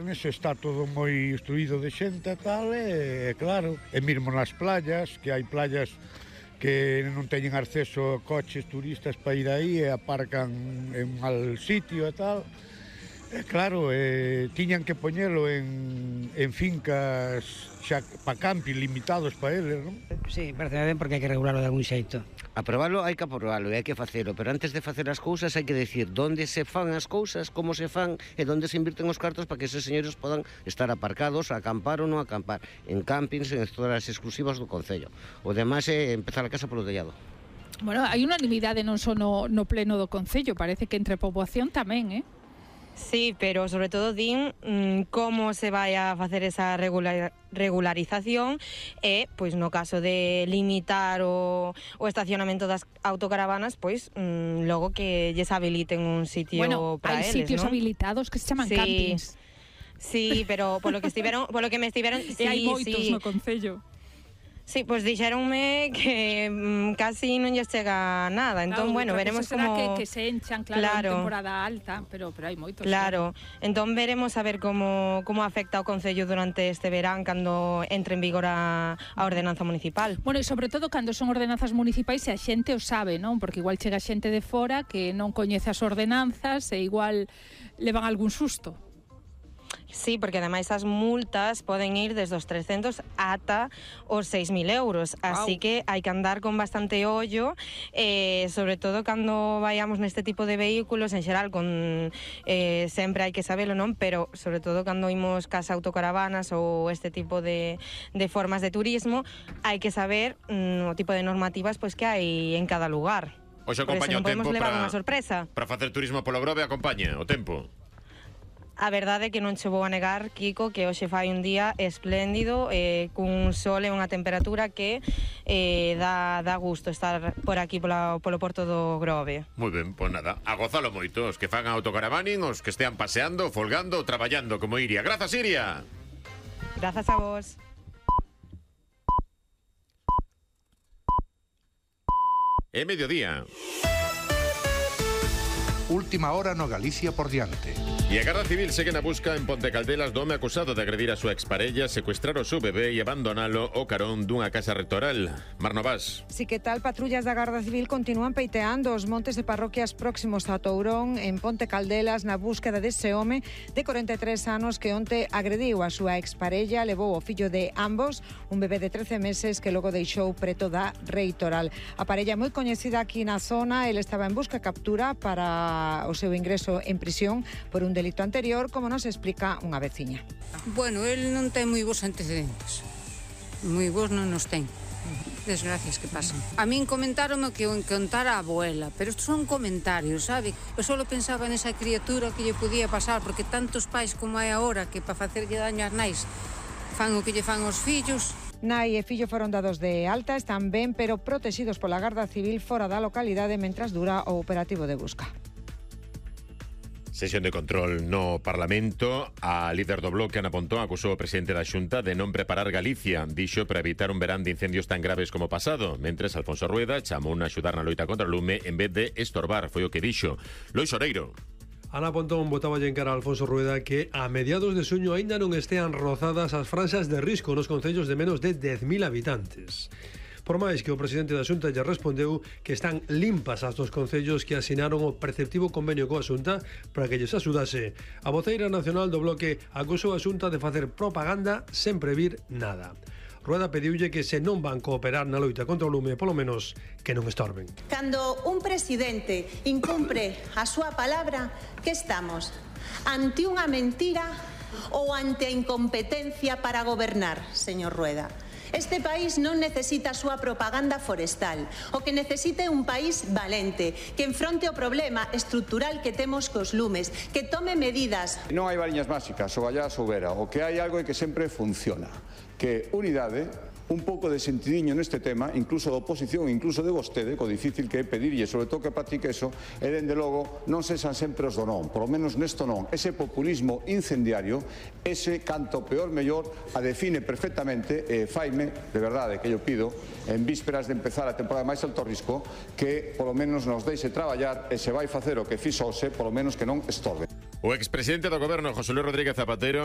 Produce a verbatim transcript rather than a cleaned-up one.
Tabernes está todo moi instruído de xente e tal, e claro, e mesmo nas playas, que hai playas que non teñen acceso a coches turistas para ir aí e aparcan en mal sitio e tal. E claro, eh, tiñan que poñelo en, en fincas xa pa camping limitados para eles, non? Sí, parece ben porque hai que regularlo de algún xeito. Aprobalo hai que aprobalo e hai que facelo, pero antes de facer as cousas hai que decir onde se fan as cousas, como se fan e onde se invirten os cartos para que esos señores podan estar aparcados, acampar ou non acampar, en campings, en zonas exclusivas do concello. O demais é empezar a casa polo tellado. Bueno, hai unanimidade non só no, no pleno do concello, parece que entre a poboación tamén, eh? Sí, pero sobre todo din mmm, como se vai a facer esa regular, regularización e, pois no caso de limitar o, o estacionamento das autocaravanas, pois mmm, logo que lles habiliten un sitio bueno, para eles, ¿no? Hai sitios habilitados que se chaman sí. campings. Sí, pero polo que estiveron, polo que me estiveron, sí, e hai moitos sí. no concello. Sí, pois pues dixéronme que mm, casi non lles chega nada. Entón, claro, bueno, veremos como... que, que se enchan, claro, claro, en temporada alta, pero, pero hai moitos. Claro, claro. Entón veremos a ver como, como afecta o Concello durante este verán cando entre en vigor a, a ordenanza municipal. Bueno, e sobre todo cando son ordenanzas municipais e a xente o sabe, non? Porque igual chega xente de fora que non coñece as ordenanzas e igual levan algún susto. Sí, porque ademais as multas poden ir desde os trescentos ata os seis mil euros, así wow. que hai que andar con bastante ollo, eh, sobre todo cando vayamos neste tipo de vehículos, en xeral, con eh, sempre hai que sabelo, non? Pero sobre todo cando imos cas autocaravanas ou este tipo de, de formas de turismo, hai que saber mm, o tipo de normativas pois que hai en cada lugar. Oxe, acompaña o tempo para sorpresa. Para facer turismo polo Grove, acompaña o tempo. A verdade é que non che vou a negar, Kiko, que hoxe fai un día espléndido, eh, cun sol e unha temperatura que eh, dá, dá gusto estar por aquí pola, polo porto do Grove. Moi ben, pois nada, a gozalo moito, os que fan autocaravaning, os que estean paseando, folgando, traballando como Iria. Grazas, Iria! Grazas a vos. É mediodía. Última hora no Galicia por diante. E a Garda Civil segue na busca en Ponte Caldelas do home acusado de agredir a súa exparella, secuestrar o seu bebé e abandonalo ao carón dunha casa rectoral. Mar Novas. Si que tal, patrullas da Garda Civil continúan peiteando os montes de parroquias próximos a Tourón, en Ponte Caldelas, na búsqueda dese home de corenta e tres anos que onte agrediu a súa exparella, levou o fillo de ambos, un bebé de trece meses que logo deixou preto da reitoral. A parella moi coñecida aquí na zona, ele estaba en busca captura para o seu ingreso en prisión por un delito anterior, como nos explica unha veciña. Bueno, el non ten moi bons antecedentes. Moi bons non nos ten. Desgracias que pasan. A min comentáronme que o contara a abuela, pero estos son comentarios, sabe? Eu só pensaba nesa criatura que lle podía pasar, porque tantos pais como hai agora que para facerlle daño ás nais fan o que lle fan os fillos. Nai e fillo foron dados de alta, están ben, pero protegidos pola Garda Civil fora da localidade mentras dura o operativo de busca. Sesión de control no Parlamento. A líder do Bloque, Ana Pontón, acusou o presidente da Xunta de non preparar Galicia. Dixo para evitar un verán de incendios tan graves como o pasado. Mentres, Alfonso Rueda chamou a axudar na loita contra o lume en vez de estorbar, foi o que dixo. Lois Oreiro. Ana Pontón botáballe en cara a Alfonso Rueda que a mediados de xuño aínda non estean rozadas as franxas de risco nos concellos de menos de dez mil habitantes. Por máis que o presidente da Xunta lle respondeu que están limpas as dos concellos que asinaron o preceptivo convenio coa Xunta para que lles axudase. A voceira nacional do Bloque acusou a Xunta de facer propaganda sen previr nada. Rueda pediulle que se non van cooperar na loita contra o lume, polo menos que non estorben. Cando un presidente incumpre a súa palabra, que estamos? Ante unha mentira ou ante a incompetencia para gobernar, señor Rueda? Este país non necesita a súa propaganda forestal. O que necesita é un país valente, que enfronte o problema estrutural que temos cos lumes, que tome medidas. Non hai variñas máxicas, ou allá soubera. O que hai algo é que sempre funciona, que unidade, un pouco de sentidiño neste tema, incluso da oposición, incluso de vostede, co difícil que é pedirlle, sobre todo que practique eso, e dende logo non sexan sempre os do non, polo menos nesto non. Ese populismo incendiario, ese canto peor mellor, a define perfectamente, e faime, de verdade, que yo pido, en vísperas de empezar a temporada máis alto risco, que polo menos nos deixe traballar e se vai facer o que fixose, polo menos que non estorbe. O expresidente do goberno, José Luis Rodríguez Zapatero,